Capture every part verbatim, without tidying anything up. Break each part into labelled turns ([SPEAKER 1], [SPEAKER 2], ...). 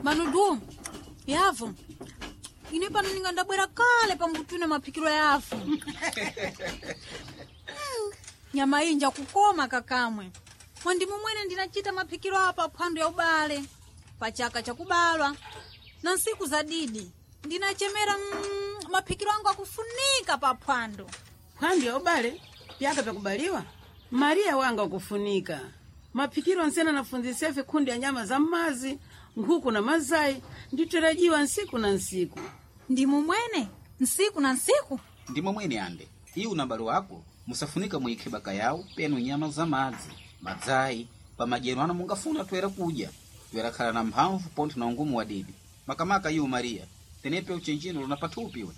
[SPEAKER 1] Manudu yavo ine pano ninga ndabwera kale pambutune maphikiro yafu. Mm, nyama iyi njakukoma kakamwe mwandi mumwene ndinachita maphikiro apa phwando ya ubale pachaka chakubalwa na nsiku za didi ndinachemera mm, maphikiro angu akufunika pa phwando.
[SPEAKER 2] Phwando ya ubale pyaka pyakubaliwa Mariya wanga ukufunika maphikiro ansena nafunzisefe kundi ya nyama za mmazi, nkhuku na mazayi nditerajiwa nsiku na nsiku.
[SPEAKER 1] Ndi mumwene nsiku na nsiku.
[SPEAKER 3] Ndimo mwene ande iwu na m'bale wako musafunika muyikhe baka yawo penu nyama za madzi, madzayi pamadyero ano mungafuna toera kudya, toera khala na mphamvu pontho na ungumu wadidi makamaka iwu Mariya tenepe uchenjino luna pathupi we.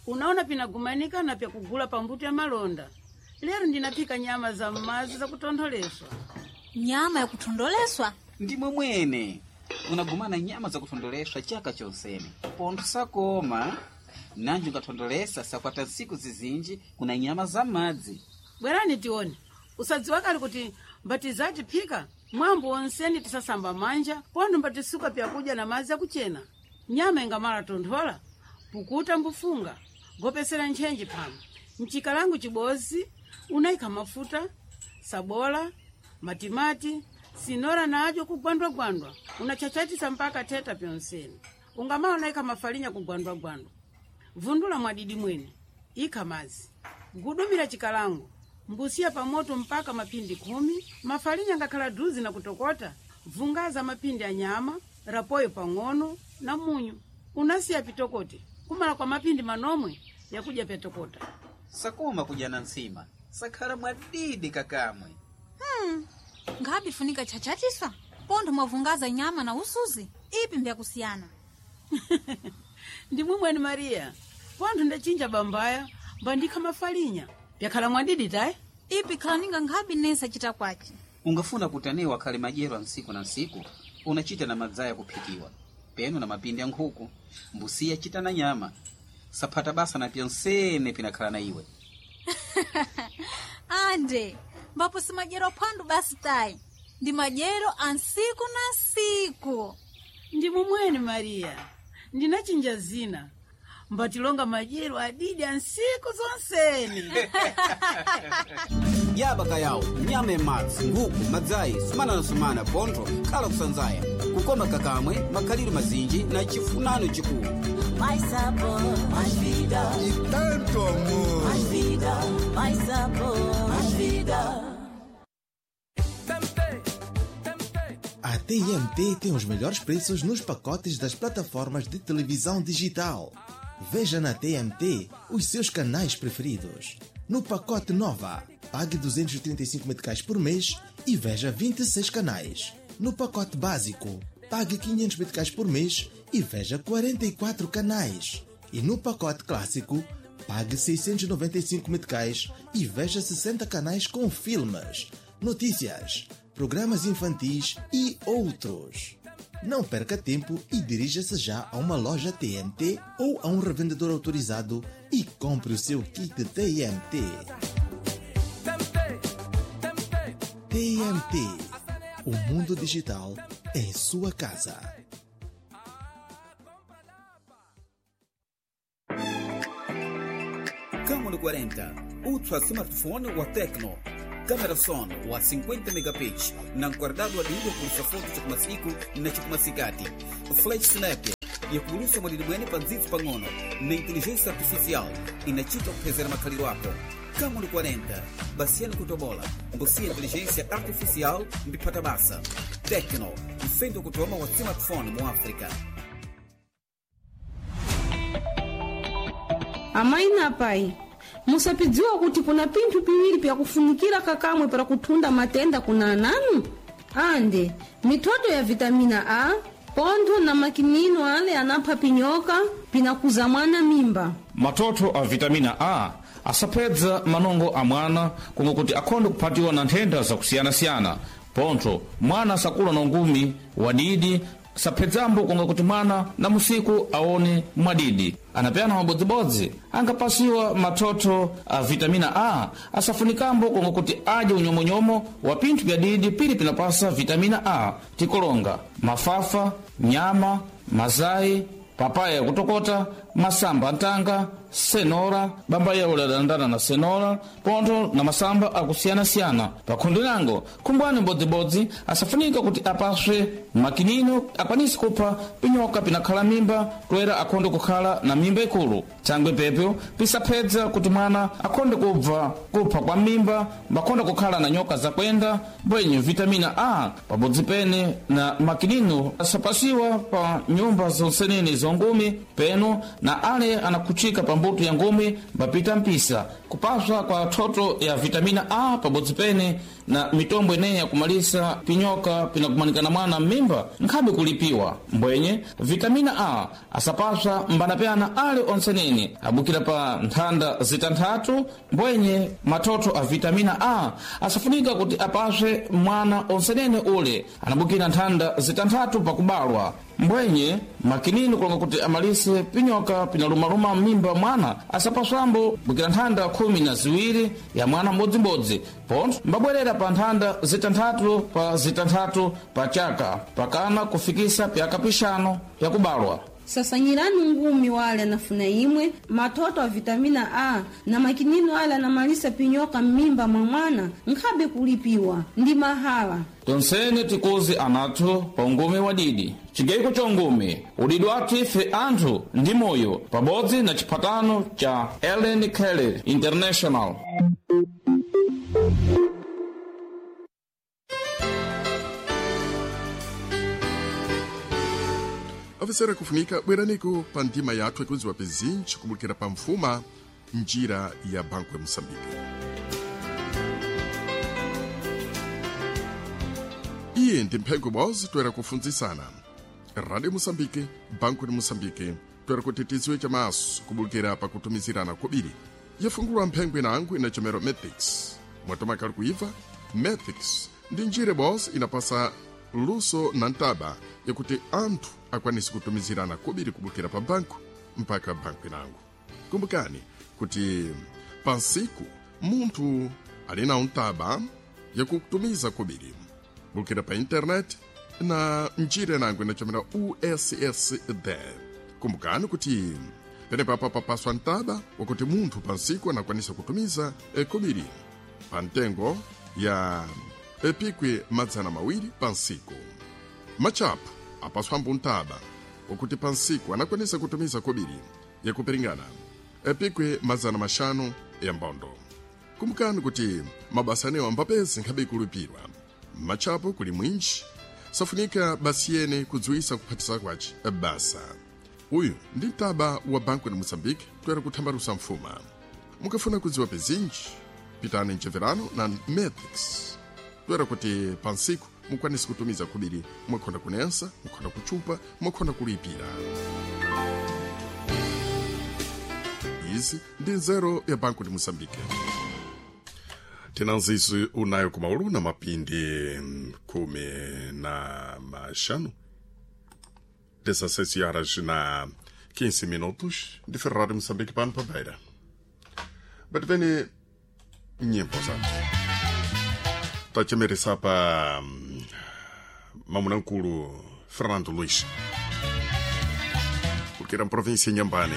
[SPEAKER 2] Unaona pinagumanika na pyakugula pambuto ya malonda lero ndinaphika nyama za mmazi zakutontholeswa.
[SPEAKER 1] Nyama yakuthondoleswa?
[SPEAKER 3] Ndimwe mwene unagumana nyama zakuthondoleswa chaka chonsene pontho sakoma nanji ungathondolesa sakwata nsiku zizinji kuna nyama za madzi.
[SPEAKER 2] Bwerani tione usadziwa kali kuti mbatizaji phika mwambo wonseni tisasamba manja pontho mbatisuka pyakudya na madzi akuchena. Nyama ingamala tonthola pukuta mbufunga gopesera ntchenji phama mchikalangu chibozi unayikha mafuta sabola matimati sinora nacho kugwandwagwandwa unachachatisa mpaka theta pyonseni ungamala unayikha mafalinya kugwandwagwandwa vundula mwadidi mwene ikha mazi gudumira chikalango mbusiya pamoto mpaka mapindi khumi mafalinya ngakhala duzi na kutokota vungaza mapindi a nyama rapoyo pang'ono na munyu unasiya pitokote kumala kwa mapindi manomwe yakudya pyatokota.
[SPEAKER 3] Sakoma kudya na nsima sakhala mwadidi kakamwe.
[SPEAKER 1] Hmm, ngabi funika chachatisa pontho mwavungaza nyama na usuzi ipi mbyakusiyana.
[SPEAKER 2] Ndimumweni Mariya pontho ndachinja bambaya mbandikha mafalinya pyakhala mwadidi tayi.
[SPEAKER 1] Ipi khalaninga nkhabi nesa chita kwachi.
[SPEAKER 3] Ungafuna kuti anewo akhale madyero a nsiku na nsiku unachita na madzaya kuphikiwa penu na mapindi a nkhuku mbusiya chita na nyama saphata basa na pyonsene pinakhala na iwe.
[SPEAKER 1] Ande mbapo si madyero aphwando basi tayi ndi madyero a nsiku na nsiku.
[SPEAKER 2] Ndi mumweni Mariya ndinachinja zina mbatilonga madyero adidi a nsiku zonsene.
[SPEAKER 4] Yabaka yawo nyama yamadzi, nkhuku, madzayi, sumana na sumana pontho khala kusanzaya kukoma kakamwe makhaliro mazinji na chifunano chikulu.
[SPEAKER 5] Mais sabor, mais vida.
[SPEAKER 6] E tanto amor.
[SPEAKER 5] Mais vida, mais sabor, mais vida.
[SPEAKER 7] A T M T tem os melhores preços nos pacotes das plataformas de televisão digital. Veja na T M T os seus canais preferidos. No pacote Nova, pague duzentos e trinta e cinco meticais por mês e veja vinte e seis canais. No pacote Básico, pague quinhentos meticais por mês e veja quarenta e quatro canais. E no pacote Clássico, pague seiscentos e noventa e cinco meticais e veja sessenta canais com filmes, notícias, programas infantis e outros. Não perca tempo e dirija-se já a uma loja T M T ou a um revendedor autorizado e compre o seu kit T M T. T M T, o mundo digital em sua casa.
[SPEAKER 4] Câmara quarenta, ultra smartphone wa Tecno, câmera son wa cinquenta megapixels, na guardado adido por foto chakumasiku na chakumasikati, flash snap yakulusa mwadidimwene pa ndzitsi pang'ono na inteligência artificial inachita kuphezera makhaliro ako. Câmara quarenta, basiyani kutobola, mbusiya inteligência artificial mbiphata basa. Tecno, mfendo kutoma wa smartphone mu África.
[SPEAKER 8] Amayi na apai, musapidziwa kuti kuna pinthu piwiri pyakufunikira kakamwe para kuthunda matenda kuna ananu ande mithoto ya vitamina A pontho na makinino ale anapha pinyoka pinakuza mwana mimba.
[SPEAKER 9] Matoto a vitamina A asapedza manongo a mwana komwe kuti akhonde kuphatiwa na nthenda zakusiyanasiyana. Pontho mwana asakula na ungumi wadidi Saphedzambo konga kuti mwana na musiku aone mwadidi. Anapyana mabodzibodzi angapasiwa mathotho a vitamina A asafunikambo konga kuti adye unyomonyomo wa pinthu pya didi pili pinapasa vitamina A tikolonga mafafa, nyama, mazayi, papaya yakutokota, masamba antanga, senora, bamba yawo ladandana na senora, pontho na masamba akusiyanasiyana. Pakhundi nango, khumbwani mbodzibodzi asafunika kuti apaswe makinino akwanise kupha pinyoka pinakhala mimba toera akhonde kukhala na mimba ikulu. Thangwe pepyo pisaphedza kuti mwana akhonde kubva kupha kwa mimba, mbakhonde kukhala na nyoka zakwenda, mbwenye vitamina A pabodzi pene na makinino asapasiwa pa nyumba zonsenene zongumi peno na ale anakhuchika pa mbuto ya ngumi mbapita mpisa. Kupaswa kwa thotho ya vitamina A pabodzi pene na mitombo ineyi yakumalisa pinyoka pinakumanikana mwana m'mimba nkhabe kulipiwa. Mbwenye vitamina A asapaswa mbanapyana ale onsenene abukira pa nthanda zitanthatu. Mbwenye mathotho a vitamina A asafunika kuti apaswe mwana onsenene ule anabukira nthanda zitanthatu pakubalwa. Mbwenye makinini kulonga kuti amalise pinyoka pinalumaluma m'mimba mwana asapaswambo bukira nthanda khumi na ziwiri ya mwana mbodzimbodzi pontho mbabwerera pa nthanda zitanthatu pa zitanthatu pa chaka pakana kufikisa pyaka pixanu pyakubalwa.
[SPEAKER 8] Sasanyirani ngumi wale anafuna imwe mathoto a vitamina A na makinino ale anamalisa pinyoka m'mimba mwa mwana nkhabe kulipiwa ndi mahala.
[SPEAKER 9] Tonsene tikuzi anathu pa ungumi wa didi. Chigaiko cha ungumi udidi wathu ife anthu ndi moyo pabodzi na chiphatano cha Ellen Kelly International.
[SPEAKER 6] Afisera kufunika bweraniko pa ndima yathu yakudziwa pezinji kubukira pa mfuma njira ya Banco ya Moçambique. Iye ndi mphengo bwozi toera kufunzisana. Radio Moçambique, Banco de Moçambique, toera kuti tidziwe chamaso kubukira pakutumizirana kobiri. Yafungulwa mphengo inango inachomero Matrix. Mwatomakali kuiva, Matrix ndi njira bwozi inapasa luso na ntaba yakuti anthu akwanise kutumizirana kobiri kubukira pa banku mpaka banku inango. Kumbukani kuti pansiku munthu ali na ntaba yakutumiza kobiri bukira pa internet na njira inango inachomera U S S D. Kumbukani kuti penepapa papaswa ntaba wakuti munthu pansiku anakwanisa kutumiza kobiri pa ntengo ya epikwi madzana mawiri pansiku. Machapu apaswambo ntaba wakuti pansiku anakwanisa kutumiza kobiri yakupiringana epikwi madzana maxanu ya mbondo. Kumbukani kuti mabasa anewo ambapezi nkhabe kulipirwa. Machapo kuli mwinji safunika basi yene kudziwisa kuphatisa kwace basa. Uyu ndi mtaba wa Banco de Moçambique toera kuthambalusa mfuma. Mukafuna kudziwa pezinji pitani mcheverano na Matrix toera kuti pansiku mukwanise kutumiza kubiri mwakhonda kunensa, mwakhonda kuchupa, mwakhonda kulipira. Izi ndi nzeru ya Banco de Moçambique. Tinanzizo unayo kumaulu na mapindi khumi na maxanu, dezesseis horas na quinze minutos de Ferrari Moçambique pano pa Beira. Bativeni nyimbo zathu tachemeresa pa mamunankulu Fernando Luís, porque era província Inhambane.